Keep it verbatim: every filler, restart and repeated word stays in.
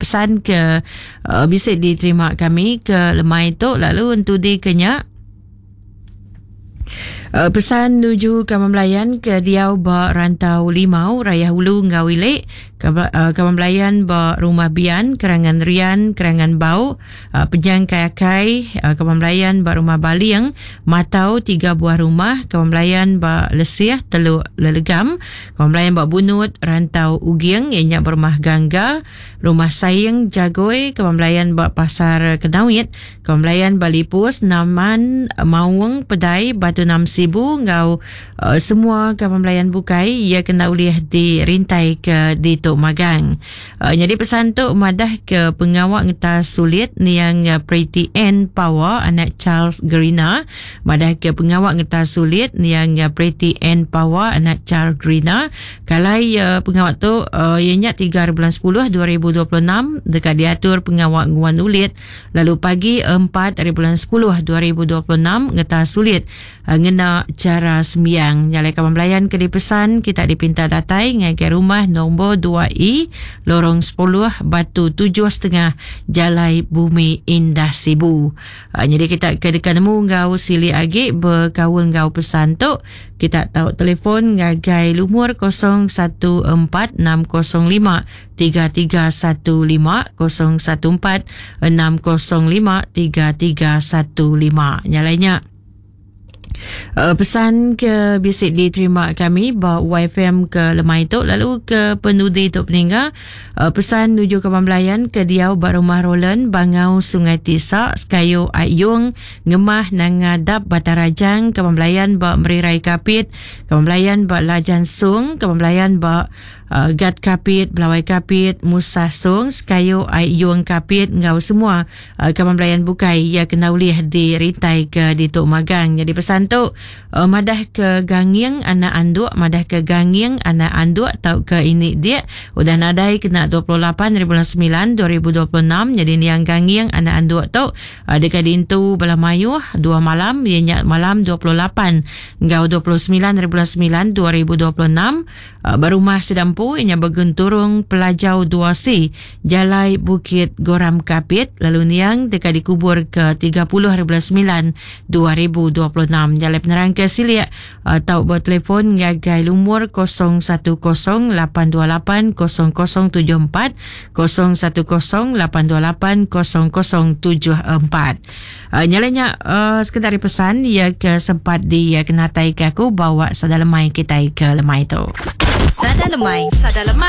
Pesan ke uh, bisa diterima kami ke lemai tu lalu entudi ke nya Uh, pesan nuju kaban belayan ke diau ba Rantau Limau, Rayah Ulu enggau Ili, uh, kaban belayan ba Rumah Bian, Kerangan Rian, Kerangan Bau, uh, Penyang Kai Akai, uh, kaban belayan ba Rumah Baling, Matau tiga buah rumah, kaban belayan ba Lesih, Teluk Lelegam, kaban belayan ba Bunut, Rantau Uging, ianya ba Rumah Gangga, Rumah Saing Jagoi, kaban belayan ba Pasar Kenawit, kaban belayan ba Lipus, Naman, Maung, Pedai, Batu Nam Sibu enggau uh, semua kaban belayan bukai ia kena ulih dirintai ke ditu magang. Uh, jadi pesan tu madah ke pengawak ngetas sulit niang uh, Pretty N Power anak Charles Gerina, madah ke pengawak ngetas sulit niang uh, Pretty N Power anak Charles Gerina. Kalai uh, pengawak tu uh, ianya tiga bulan sepuluh dua ribu dua puluh enam dekat diatur pengawak nguan ulit, lalu pagi empat hari bulan sepuluh dua ribu dua puluh enam ngetas sulit uh, ngena cara sembiang. Nyalai kaban belayan ke dipesan kita dipinta datai ngagai rumah nombor dua E Lorong sepuluh Batu tujuh setengah Jalai Bumi Indah Sibu. Uh, jadi kita ke dekat nemu ngau sili agi berkaul ngau pesan tu, kita tahu telefon ngagai lumur kosong satu empat enam kosong lima tiga tiga satu lima kosong satu empat enam kosong lima tiga tiga satu lima. Nyalainya Uh, pesan ke bisik diterima kami ba Y F M ke lemai tu lalu ke penudi tu peningga uh, pesan nuju ke belayan ke diau ba rumah Roland Bangau Sungai Tisa Sekayu Ayung Ngemah Nangadap Batarajang ke belayan ba Merirai Kapit ke belayan ba Lajan Sung ke belayan ba Uh, Gat Kapit, Belawai Kapit, Musa Sung, Sekayu Ayung Kapit ngau semua uh, kaban belayan bukai ia kena ulih dirintai ke ditu magang. Jadi pesan tu uh, madah ke ganging anak anduk, madah ke ganging anak anduk tau ke ini dia udah nadai kena dua puluh lapan hari bulan sembilan dua ribu dua puluh enam. Jadi niang ganging anak anduk tu uh, dekat dintu bala mayuh dua malam ianya malam dua puluh lapan ngau dua puluh sembilan hari bulan sembilan dua ribu dua puluh enam uh, berumah sedang ianya bergenturung Pelajau dua C Jalai Bukit Goram Kapit lalu niang dekat dikubur ke tiga puluh hari bulan sembilan dua ribu dua puluh enam. Jalai penerang ke siliak atau bertelefon ngagai lumur kosong satu kosong lapan dua lapan kosong kosong tujuh empat kosong satu kosong lapan dua lapan kosong kosong tujuh empat. Uh, nyalanya uh, sekedar pesan ia ke sempat dia kenatai ke aku bawa sada lemai kita ke lemai tu. Sada lemai. Sada lemai.